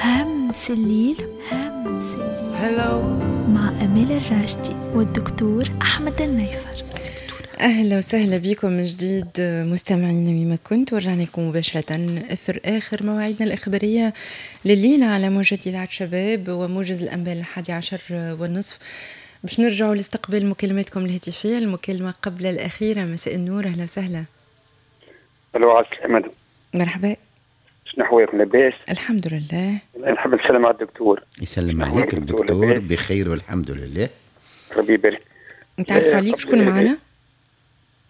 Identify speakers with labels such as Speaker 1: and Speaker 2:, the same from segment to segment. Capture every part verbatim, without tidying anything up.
Speaker 1: همس الليل، همس الليل مع أمال الراشدي والدكتور أحمد النيفر.
Speaker 2: أهلا وسهلا بكم من جديد مستمعينا وين ما كنتوا، ورجعنا لكم مباشرة أثر آخر مواعيدنا الإخبارية لليلة على موجة إذاعة شباب وموجز الأنباء الحادي عشر والنصف. باش نرجعوا لاستقبال مكالماتكم الهاتفية، المكالمة قبل الأخيرة. مساء النور، أهلا وسهلا.
Speaker 3: الو، على السلامة.
Speaker 2: مرحبا.
Speaker 3: شنو احوالكم، لاباس؟
Speaker 2: الحمد لله.
Speaker 3: نحب نسلم على الدكتور.
Speaker 4: يسلم عليك الدكتور، بخير والحمد لله.
Speaker 3: ربي يبارك.
Speaker 2: نتعرف عليك، شكون معنا؟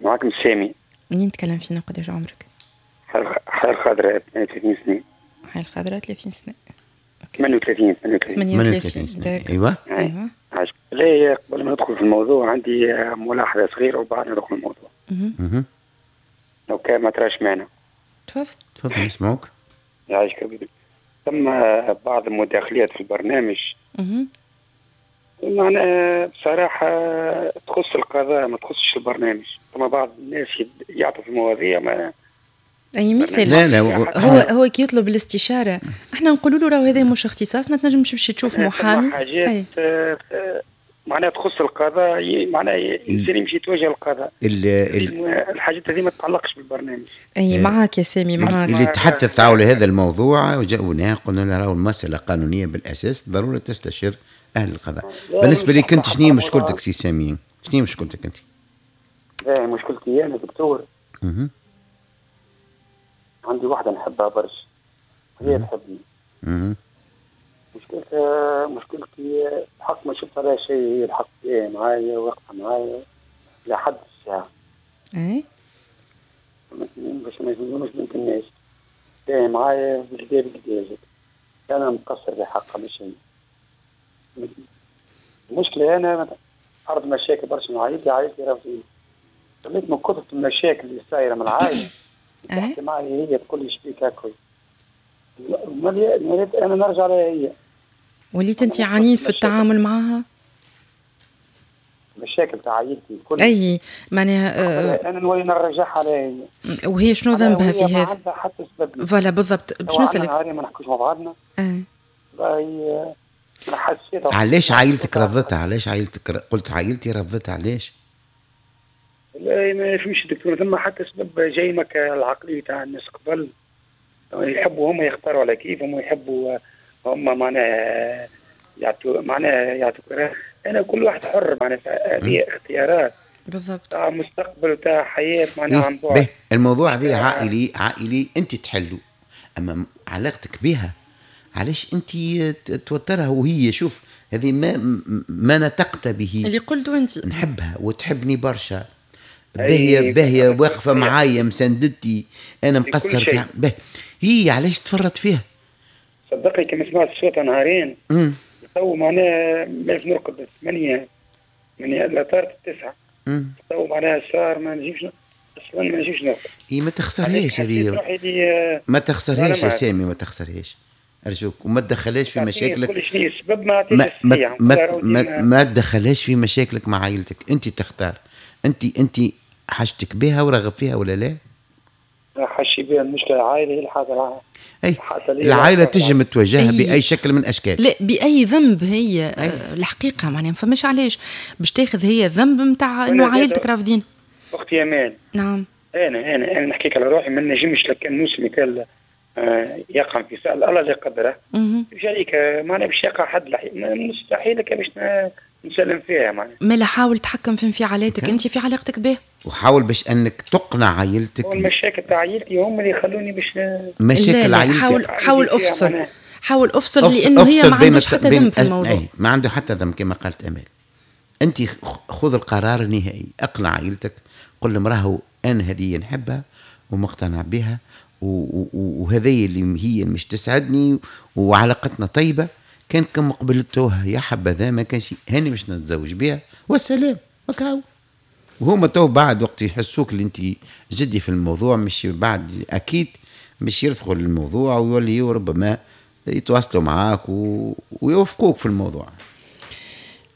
Speaker 3: معاكم سامي.
Speaker 2: منين تكلم فينا، قداش عمرك؟
Speaker 3: حي الخضراء، ثمانية وثلاثين سنة.
Speaker 2: حي الخضراء ثلاثين سنة.
Speaker 3: ثمانية وثلاثين.
Speaker 2: ثمانية وثلاثين سنة.
Speaker 4: ايوه
Speaker 2: ايوه.
Speaker 3: لا، قبل ما ندخل في الموضوع عندي ملاحظة صغيرة وبعد ندخل في الموضوع.
Speaker 4: اها.
Speaker 3: لو كان ما تراش معنا.
Speaker 2: تفضل.
Speaker 4: تفضل نسمعوك.
Speaker 3: يعيشك حبيبي. ثم بعض المداخلات في البرنامج.
Speaker 2: اها.
Speaker 3: معناها بصراحة تخص القضاء ما تخصش البرنامج. ثم بعض الناس يعطوا في المواضيع ما
Speaker 2: اي مثال.
Speaker 4: لا لا،
Speaker 2: هو هو كي يطلب الاستشارة احنا نقولوا له راهو هذا مش اختصاصنا، تنجم تمشي تشوف محامي.
Speaker 3: حاجات آه معناها تخص القضاء، معناها الانسان يمشي يتوجه للقضاء. الحاجات هذه ما تتعلقش بالبرنامج.
Speaker 2: اي معاك يا سامي، معاك.
Speaker 4: اللي تحدث حول هذا الموضوع وجاوناه قلنا له راهو المسالة قانونية بالاساس، ضروري تستشير اهل القضاء. بالنسبة لك انت شنو مشكلتك سي سامي؟ شنو مشكلتك انت؟
Speaker 3: لا مشكلتي انا دكتور.
Speaker 4: اها.
Speaker 3: عندي واحدة نحبها برشا، هي تحبني.
Speaker 4: اها.
Speaker 3: مشكلتها مشكلتي الحق ما شفت عليها شيء، هي الحق إيه معايا واقفة معايا لحد الساعة.
Speaker 2: اي
Speaker 3: باش ما يزيدونوش بنت الناس. إيه معايا بالكدا بالكدا، أنا مقصر في حقها مش هي. المشكلة أنا عرض مشاكل برشا مع عائلتي، عائلتي رافضين. خليت من كثرة المشاكل اللي صايرة من العائلة تحكي معي هي تقول لي شبيك هكا. وليت أنا نرجع لها هي.
Speaker 2: وليت أنت عنيف في التعامل معها؟
Speaker 3: مشاكل تاع عائلتي الكل.
Speaker 2: أي معناها
Speaker 3: آه أنا نولي نرجعها لها هي.
Speaker 2: وهي شنو ذنبها في هذا؟
Speaker 3: ما عندها حتى سبب.
Speaker 2: voilà بالضبط، باش نسألك.
Speaker 3: نهارين ما نحكوش مع بعضنا.
Speaker 2: أه.
Speaker 3: حسيت.
Speaker 4: علاش عائلتك رفضتها؟ علاش عائلتك قلت عائلتي رفضتها علاش؟
Speaker 3: لا ما فهمش دكتور، ثم حتى سبب جاي مك العقلية تاع الناس قبل، يحبوا هم يختاروا على كيفهم ويحبوا هم معناها يعطوا معناها يعطوا. انا كل واحد حر معناها هذه اختيارات
Speaker 2: بالضبط
Speaker 3: تاع مستقبل وتاع حياة معناها عن بعد.
Speaker 4: الموضوع هذا عائلي عائلي انت تحلو، اما علاقتك بها علاش انت توترها وهي شوف هذه ما ما نطقت به
Speaker 2: اللي قلته انت.
Speaker 4: نحبها وتحبني برشا، باهيه باهيه واقفة معايا مساندتي، انا مقصر فيها. به هي علاش تفرط فيها؟
Speaker 3: صدقني كما سمعت صوتها نهارين تو معناها باش نرقد ثمانية من لا طارت التسعة تو معناها صار ما نجيبش اصلا ما نجيبش نرقد.
Speaker 4: اي ما تخسرهاش هذه، ما تخسرهاش يا سامي، ما تخسرهاش أرجوك، وما تدخلهاش في مشاكلك.
Speaker 3: كل شيء السبب ما
Speaker 4: ما ما, ما, ما, ما تدخلهاش في مشاكلك مع عائلتك، أنت تختار، أنت أنت حاجتك بها ورغب فيها ولا لا؟
Speaker 3: حاشي بها. المشكلة العائلة هي الحاجة.
Speaker 4: أي العائلة تجم تواجهها بأي شكل من الأشكال.
Speaker 2: لا بأي ذنب هي. أي. الحقيقة معناها ما فماش علاش باش تاخذ هي ذنب نتاع إنه عائلتك رافضين.
Speaker 3: أختي أمان.
Speaker 2: نعم.
Speaker 3: أنا أنا أنا نحكيك على روحي ما نجمش لكان نوصل مثال يقع في سأل الله اللي يقدره مش عليك معناها باش يقع حد مستحيل باش نسلم فيها معناها.
Speaker 2: ما لا حاول تحكم في انفعالاتك انت في علاقتك به،
Speaker 4: وحاول باش انك تقنع عائلتك.
Speaker 3: المشاكل تاع عائلتي هم اللي يخلوني باش
Speaker 4: مشاكل عائلتي.
Speaker 2: حاول حاول افصل، حاول افصل لانه هي ما عندهاش حتى ذنب في الموضوع.
Speaker 4: أي ما عنده حتى ذنب كما قالت امال. انت خذ القرار النهائي، اقنع عائلتك، قل لهم راهو انا هذه نحبها ومقتنع بها وهذه اللي هي مش تسعدني وعلاقتنا طيبة، كان كم قبلتوها يا حبذا، ما كانش هاني مش نتزوج بها والسلام وكاو. وهما تو بعد وقت يحسوك اللي انت جدي في الموضوع، مش بعد اكيد مش يرفضوا الموضوع ويولي ربما يتواصلوا معاك و... ويوافقوك في الموضوع.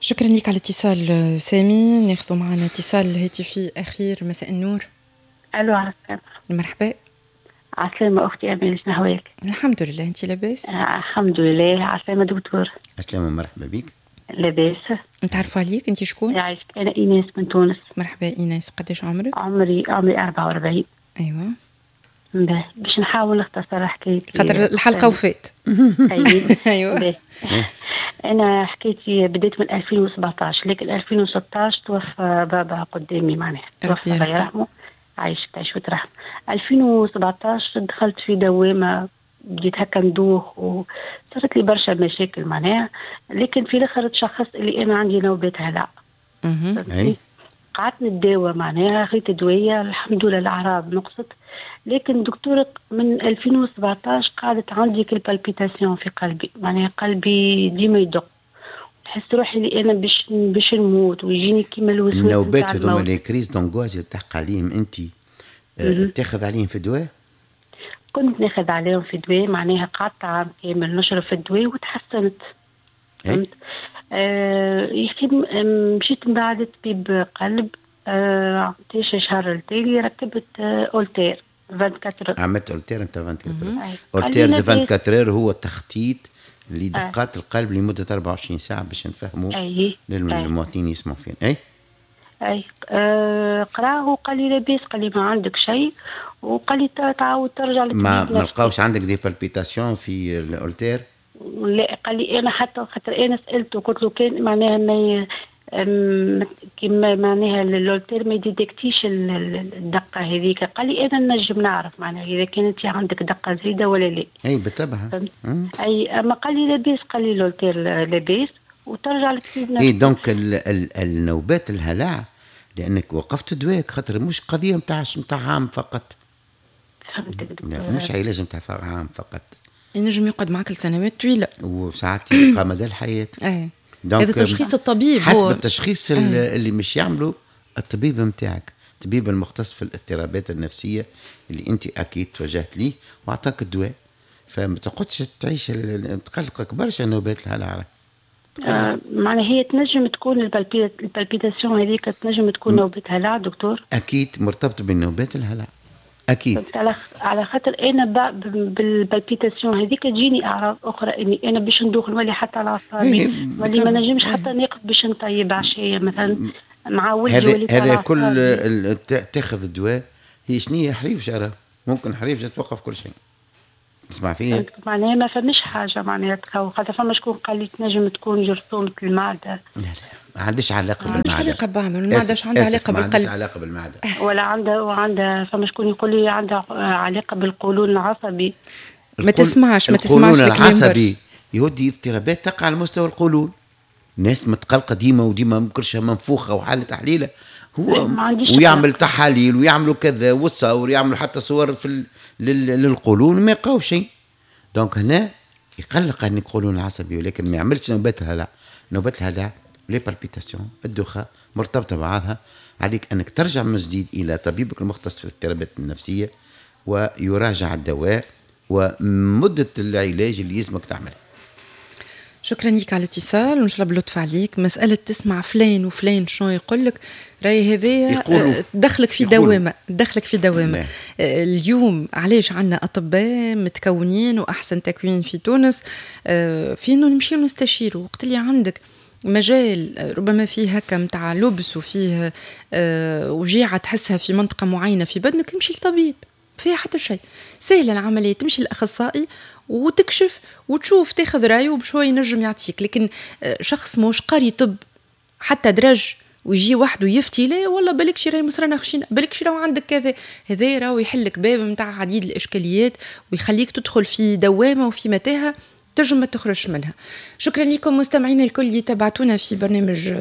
Speaker 2: شكرا لك على الاتصال سامي. ناخذ معنا اتصال هاتفي اخير. مساء النور.
Speaker 5: الو، عسلامة.
Speaker 2: مرحبا.
Speaker 5: عسلامة أختي أمال، شنو أحوالك؟
Speaker 2: الحمد لله، أنت لاباس؟
Speaker 5: آه الحمد لله. عسلامة دكتور.
Speaker 4: عسلامة، مرحبا بك.
Speaker 5: لاباس.
Speaker 2: نتعرفوا عليك، أنت شكون؟
Speaker 5: يعيشك، أنا إيناس من تونس.
Speaker 2: مرحبا إيناس، قداش عمرك؟
Speaker 5: عمري عمري أربعة وأربعين.
Speaker 2: أيوة.
Speaker 5: باش نحاول نختصر حكايتي
Speaker 2: خاطر الحلقة وفات. أيوة.
Speaker 5: أنا حكايتي بديت من ألفين وسبعطاش، لكن ألفين وستطاش توفى بابا قدامي، معناها توفى الله يرحمه. عايش تعيش وترحم. ألفين وسبعطاش دخلت في دوامة، بديت هكا ندوخ وصارت لي برشا مشاكل معناها، لكن في الاخر تشخصت اللي انا عندي نوبات هلع. قعدت نتداوى معناها، خذيت دوايه الحمد لله الاعراض نقصت، لكن دكتورة من ألفين وسبعطاش قعدت عندي كل palpitations في قلبي، معناها قلبي ديما يدق، نحس روحي اللي انا باش باش نموت، ويجيني كيما الوسواس.
Speaker 4: النوبات هذوما les crises d'angoisse اللي تحكي عليهم انت، تاخذ عليهم في دواء؟
Speaker 5: كنت ناخذ عليهم في دواء، معناها قعدت عام كامل نشرب في الدواء وتحسنت. فهمت؟ آه يا اخي مشيت من بعد طبيب قلب، آه عطيش شهر التالي ركبت اولتير أربعة وعشرين.
Speaker 4: عملت اولتير نتاع أربعة وعشرين. Holter de أربعة وعشرين هو تخطيط لدقات آه. القلب لمدة أربعة وعشرين ساعة باش نفهموا للمواطنين يسمعوا فين. اي
Speaker 5: اي آه قراه وقال لي لاباس، قال لي ما عندك شيء، وقال لي تعاود ترجع للطبيب.
Speaker 4: ما ما لقاوش عندك des palpitations في الأولتير؟
Speaker 5: لا، قال لي انا حتى خاطر انا سالته قلت له كان معناها ما كيما معناها الأولتير ما يديتكتيش الدقة هذيك، قال لي انا نجم نعرف معناها اذا كانت عندك دقه زايدة ولا لا.
Speaker 4: اي بالطبع.
Speaker 5: اي اما قال لي لاباس، قال لي الأولتير لاباس وترجع للطبيب.
Speaker 4: اي donc ال ال النوبات الهلع لانك وقفت دواك، خاطر مش قضية نتاع نتاع عام فقط.
Speaker 5: فهمتك دكتور.
Speaker 4: مش علاج نتاع عام فقط،
Speaker 2: ينجم يقعد معك لسنوات طويلة
Speaker 4: وساعات يبقى مدى الحياة.
Speaker 2: اي هذا تشخيص الطبيب،
Speaker 4: حسب هو التشخيص أه. اللي مش يعمله الطبيب نتاعك، الطبيب المختص في الاضطرابات النفسية اللي انت اكيد توجهت ليه واعطاك الدواء. فما تقعدش تعيش تقلقك برشا نوبات الهلع.
Speaker 5: آه معناها هي تنجم تكون ال palpitations هذيك تنجم تكون نوبة هلع دكتور؟
Speaker 4: اكيد مرتبطة بالنوبات الهلع اكيد.
Speaker 5: على على خاطر انا بال palpitations هذيك تجيني اعراض اخرى، اني انا باش ندوخ نولي حتى على اعصابي، نولي ما نجمش حتى نقف باش نطيب عشية مثلا مع ولدي.
Speaker 4: هذا هذا كل تاخذ الدواء هي شنية حريف شعرها، ممكن حريف توقف كل شيء. تسمع فيا؟
Speaker 5: معناها ما فماش حاجة معناها تخوف، خاطر فما شكون قال لي تنجم تكون جرثومة المعدة.
Speaker 4: لا لا ما عندهاش علاقة بالمعدة.
Speaker 2: ما عندهاش علاقة ببعض، المعدة اش عندها علاقة بالقلب؟ ما
Speaker 4: عندهاش علاقة بالمعدة.
Speaker 5: ولا عندها وعندها فما شكون يقول لي عندها علاقة بالقولون العصبي.
Speaker 2: ما تسمعش ما تسمعش
Speaker 4: القولون العصبي يودي اضطرابات تقع على مستوى القولون. ناس متقلقه ديما وديما كرشها منفوخه وحاله تحليله، هو ويعمل تحاليل ويعملوا كذا وتصور ويعملوا حتى صور في للقولون ما يلقاو شيء. donc هنا يقلق ان القولون العصبي، ولكن ما يعملش نوبات الهلع. نوبات الهلع les palpitations الدوخه مرتبطة بعضها. عليك انك ترجع من جديد الى طبيبك المختص في الاضطرابات النفسية ويراجع الدواء ومده العلاج اللي يلزمك تعملها.
Speaker 2: شكرا لك على الاتصال وان شاء الله باللطف عليك. مسالة تسمع فلان وفلان شنو يقول لك، راهي هذايا دخلك في دوامه، دخلك في دوامه. اليوم علاش عندنا اطباء متكونين واحسن تكوين في تونس، في انه نمشيو نستشيروا وقت اللي عندك مجال ربما فيه هكا متاع لبس وفيه وجيعه تحسها في منطقة معينة في بدنك، تمشي لطبيب فيها حتى شيء، سهلة العملية، تمشي للاخصائي وتكشف وتشوف تاخذ رايه وبشوي ينجم يعطيك. لكن شخص موش قاري طب حتى درج ويجي وحده يفتي، لا والله بالك شي راهي مصرانه خشينه، بالك شي راهو عندك كذا، هذا راهو يحلك باب نتاع عديد الاشكاليات ويخليك تدخل في دوامه وفي متاهه تنجم ما تخرجش منها. شكرا لكم مستمعينا الكل اللي تابعتونا في برنامج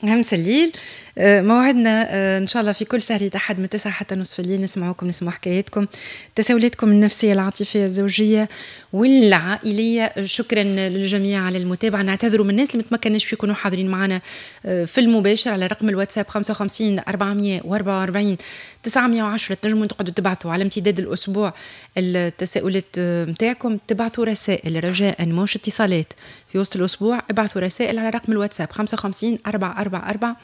Speaker 2: همس الليل. موعدنا ان شاء الله في كل سهرة احد من تسعة حتى نصف الليل، نسمعوكم، نسمعوا حكاياتكم، تساؤلاتكم النفسية العاطفية الزوجية والعائليه. شكرا للجميع على المتابعة. نعتذروا من الناس اللي متمكنش يكونوا حاضرين معنا في المباشر على رقم الواتساب خمسة وخمسين أربعمية وأربعة وأربعين تسعمية وعشرة. تنجموا تقعدوا تبعثوا على امتداد الاسبوع التساؤلات نتاعكم، تبعثوا رسائل رجاء مش اتصالات في وسط الاسبوع، ابعثوا رسائل على رقم الواتساب خمسة وخمسين أربعة أربعة أربعة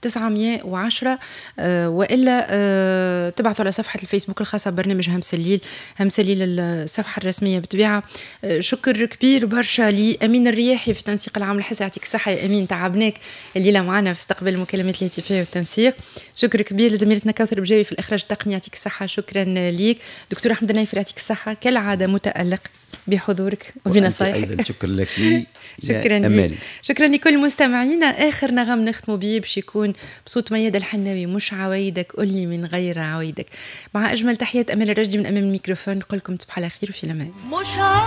Speaker 2: تسعمية وعشرة، آه، والا آه، تبعثوا على صفحة الفيسبوك الخاصة ببرنامج همس الليل، همس الليل الصفحة الرسمية بالطبيعة. آه، شكر كبير برشا لامين الرياحي في تنسيق العام الحسي، يعطيك الصحة يا امين، تعبناك الليلة معنا في استقبال المكالمات الهاتفية والتنسيق. شكر كبير لزميلتنا كوثر بجاوي في الاخراج التقني، يعطيك الصحه، شكرا ليك. دكتور احمد النايفر يعطيك الصحه، كالعادة متالق بحضورك وبنصائحك.
Speaker 4: ايضا شكرا لك.
Speaker 2: شكرا لك، شكرا لكل مستمعينا. اخر نغم نختم به باش يكون بصوت ميادة الحناوي، مش عوايدك قولي من غير عوايدك. مع اجمل تحيات امال الرشدي من امام الميكروفون، نقول لكم تصبحوا على خير وفي الامان.
Speaker 6: مش عوايدك.